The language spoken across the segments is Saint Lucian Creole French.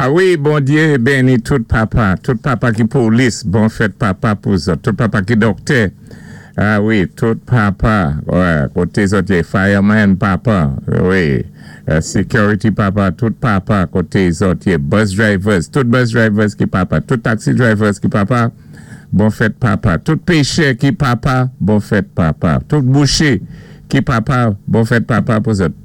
A wi, Bondyé béni tout papa, tout papa ki polis, bon fèt papa pou zòt, tout papa ki dòktè, a wi, tout papa, wè, koté zòt yé, fireman papa, wi, security papa, tout papa koté zòt yé, bus drivers, tout bus drivers ki papa, tout taxi drivers ki papa, bon fèt papa, tout péchè ki papa, bon fèt papa, tout bouché ki papa, bon fèt papa pou zòt.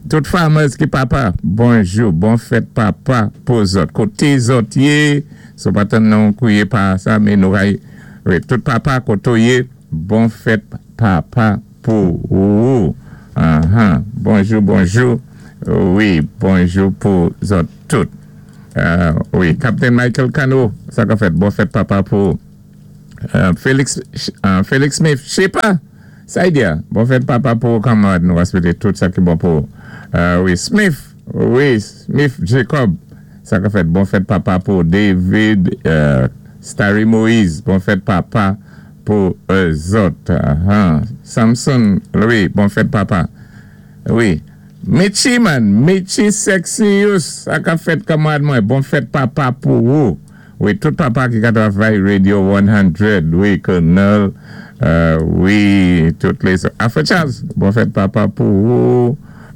Tout farmers ki papa, bonjou, bon fèt papa pou zòt. Koté zòt yé, si-w pa tann nou kwiyé pa sa, men nou ray, wi, tout papa koté-w yé, bon fèt papa pou ou. Anhan, bonjou, bonjou, wi, bonjou pou zòt tout. Wi, Captain Michael Cano, sa ka fèt, bon fèt papa pou ou. Felix, Felix Smith, Chepa! Saidia, bon fèt papa pou ou kanmarad nou swete tout sa ki bon pou ou wi Smith wi Smith Jacob sa ka fèt bon fèt papa pou ou David Starry Moise bon fèt papa pou zòt Samson Louis bon fèt papa wi Mitchy man Mitchy Sexius sa ka fèt kanmarad mwen bon fèt papa pou ou. Wi tout papa ki ka travay radio 100 wi colonel wi tout les Alfred Charles bon fèt papa pou ou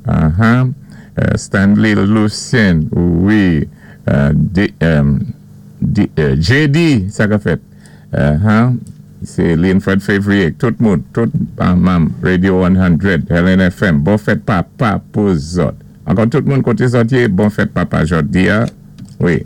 ahan Stanley Lucien wi JD sa ka fèt ahan se Linford Fevrier tout moun tout manm radio 100 Helen FM bon fèt papa pou zòt ankò tout moun kote zòt ye bon fèt papa jòdia wi.